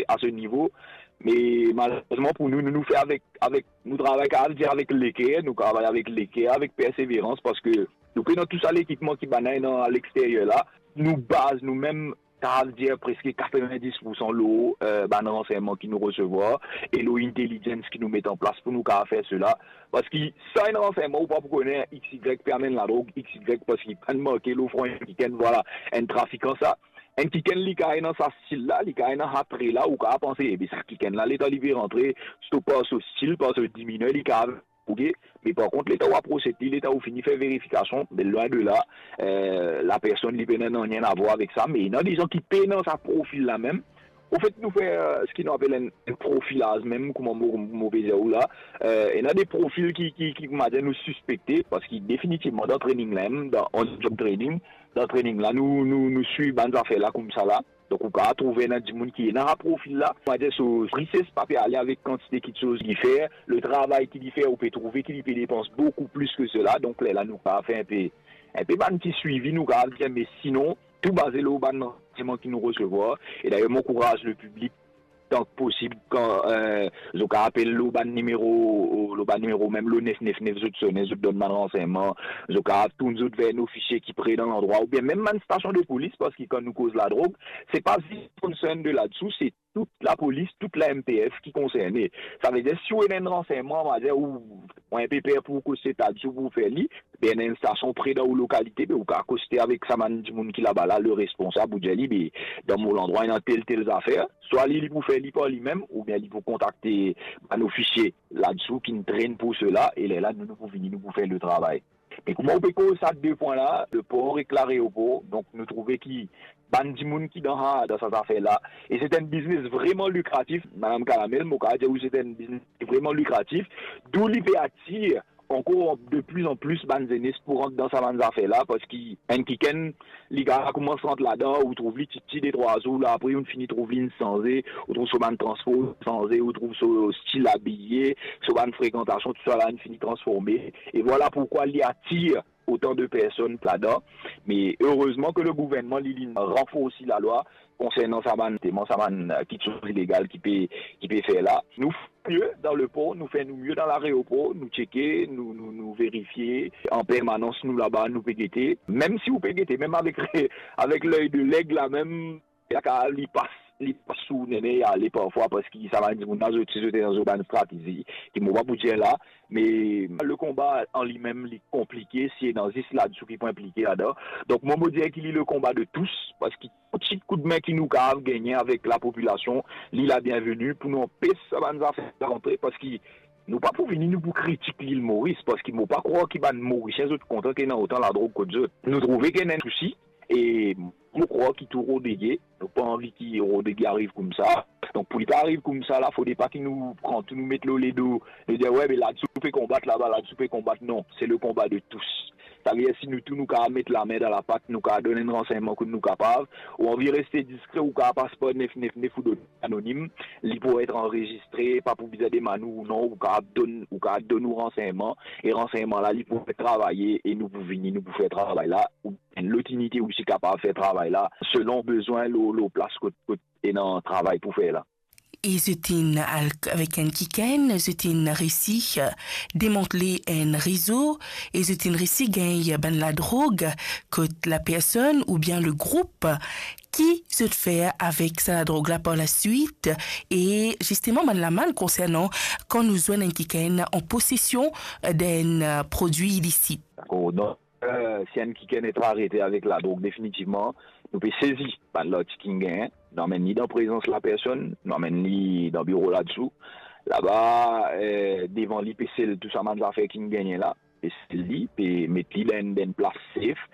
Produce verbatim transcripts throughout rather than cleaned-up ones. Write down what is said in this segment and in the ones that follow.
a se nivo. Me malerezman pou nou, nou, nou fer avek, avek, nou travay, kapav dir, avek leker, nou travay avek leker, avek perseverans, parski nou pena tou sa lekipman ki bann-la ena aleksteryer la. Nou baz nou mem, kapav dir, preske katrevinndis poursan lor, eh, bann ransegnman ki nou resevwar e lor intelligence ki nou met an plas pou nou kapav fer sela. Parski san enn ransegnman, ou pa pou kone X Y pe amenn ladrog X Y, parski pa'nn marke lor fron enn kikenn, vwala, enn trafikan sa. Enn kikenn, li kapav ena sa stil la, li kapav ena sa tre la, ou kapav panse, ebe, sa kikenn la, letan li pe rantre, so par so stil, par so diminer, li kapav, ok? Me par kont, letan ou aprose li, letan ou fini fer verifikasion, be lwin de la, eh, lapersonn, li pena nanye avwar avek sa, me ena de zan ki pena sa profil la mem. Anfet, nou fer, eh, seki nou apel enn, enn profilaz mem, kouma mo, mo pe dir ou la. Eh, ena de profil ki, ki, ki, kouma dir, nou sispekte, parski definitivman, dan training la mem, dan on-job training, dan training la, nou, nou, nou swiv bann zafer la koumsa la. Donk, ou kapav trouve ena dimoun ki ena sa profil la, kouma dir, so richess pa pe ale avek kantite kitsoz li fer, le travay ki li fer, ou pe trouve ki li pe depans boukou plis ki sela. Donk, lerla nou kapav fer enpe, enpe bann ti swivi, nou kapav dir, me sinon, tou baze lor bann ransegneman ki nou resevwar. E dayer, mo ankouraz lepiblik, tan ki posib, kan, eh, zot kapav apel lor bann nimero, lor bann nimero, mem lor nef nef nef, zot sone, zot donn bann ransegneman, zot kapav tourn zot ver enn ofisie ki pre dan landrwa, oubien mem bann stasion de polis, parski kan nou koz ladrog, se pa zis concern de ladsou, se tout lapolis, tout la M P F ki konserne. Savedir, si ou ena enn ransegneman, on va dir, ou, ou enpe per pou koste ladsou pou fer li, be ena enn stasion pre dan ou lokalite, be ou kapav koste avek sa bann dimoun ki laba la, le responsab, ou dir li, be, dan mo landrwa, ena tel, tel zafer. Swa li, li pou fer li par limem, oubien li pou kontakte bann ofisie ladsou ki'nn train pou sela, e lerla, nou, nou pou vini, nou pou fer le travay. Me kouma ou pe koz sa de pwin la, lepor ek laeropor, donk nou trouve ki bann dimoun ki dan sa, dan sa zafer la, e se enn biznes vreman likratif, Madam Kalamel, mo kapav dir ou se enn biznes vreman likratif, dou li pe atir ankor de plis an plis bann zenes pou rant dan sa bann zafer la, parski enn kikenn, li kapav koumans rant ladan, ou trouv li titi de trwa zour, la apre ou fini trouv li inn sanze, ou trouv so bann transpor sanze, ou trouv so stil abiye, so bann frekantasion, tousala inn fini transforme. E vwala poukwa li atir otan de personn ladan. Me erezman ke legouvernman, li, li ranforsi lalwa konsernan sa bann, sa bann, eh, kitsoz ilegal ki pe, ki pe fer la. Nou fer mie dan lepor, nou fer nou mie dan laeropor, nou tcheke, nou, nou, nou verifie an permanans, nou laba, nou pe gete. Mem si ou pe gete, mem avek, avek ley de leg la, mem, li kapav, li pas, li pas sou nene, ale parfwa, parski sa bann dimoun la, zot, zot ena zot bann stratezi, ki mo pa pou dir la, me lekonba an limem, li konplike, si ena zis ladsou ki pou inplike ladan. Donk, mo, mo dir ki li lekonba de tous, parski tou ti koudme ki nou kapav gagne avek lapopilasion, li la bienveni pou nou anpes sa bann zafer rantre, parski nou pa pou vini, nou pou kritik Lil Moris, parski mo pa krwar ki bann Morisien, zot kontan ki ena otan ladrog kot zot. Nou trouve ki ena enn sousi, e mo krwar ki tou Rodrige, nou pa anvi ki Rodrige ariv koumsa. Donk, pou li pa ariv koumsa la, fode pa ki nou pran tou, nou met lor ledo, nou dir, "We, be ladsou pe konbat laba, ladsou pe konbat." Non, se lekonba de tous. Savedir, si nou tou, nou kapav met lame dan lapat, nou kapav donn enn ransegnman kot nou kapav, ou anvi reste diskre, ou kapav pas par nef nef nef, ou donn anonim, li pou et anrezistre, pa pou bizin demann ou non, ou kapav donn, ou kapav donn ou ransegnman, e ransegnman la, li pou fer travay, e nou pou vini, nou pou fer travay la, ou enn lot inite osi kapav fer travay la, selon bizin lor, lor plas kot, kot ena travay pou fer la. E zot inn al avek enn kikenn, zot inn resi, eh, demantle enn rezo, e zot inn resi gagn bann ladrog kot lapersonn oubien legroup ki zot fer avek sa ladrog la par laswit, e zisteman bann lamann konsernan kan nou zwenn enn kikenn an posesion, eh, d'enn, eh, prodwi ilisit. Dakor, donk, eh, si enn kikenn et arete avek ladrog, definitivman, nou pe sezi bann lartik ki'nn gagn, nou amenn li dan prezans lapersonn, nou amenn li dan biro ladsou. Laba, eh, devan li pe sel tou sa bann zafer ki'nn gagne la, pe sel li, pe met li dan enn, dan enn plas safe.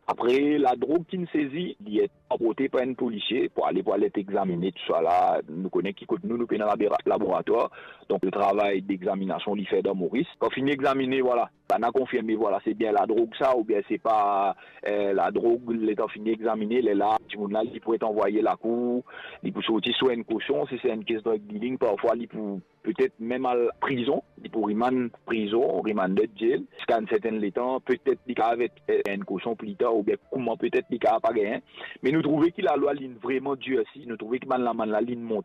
Apre, ladrog ki'nn sezi, li et transporte par enn polisie pou ale, pou al et examine, tousala, nou kone ki kot nou, nou pena labora-, laboratwar. Donk, le travay d'examinasion, li fer dan Moris. Kan fini examine, vwala, bann-la konfirme, vwala, se bien ladrog sa, oubien se pa, eh, ladrog, letan fini examine, lerla, dimoun la, li pou et anvwaye lakour, li pou sorti sou enn kosion, si se enn kes drug dealing, parfwa, li pou petet mem al prizon, li pou rimann prizon, remanded jail, ziska enn sertenn letan, petet li kapav et, eh, enn kosion pli tar, oubien kouma petet li kapav pa gagn. Me nou trouve ki lalwa, li'nn vreman dirsi, nou trouve ki bann lamann la, li'nn monte.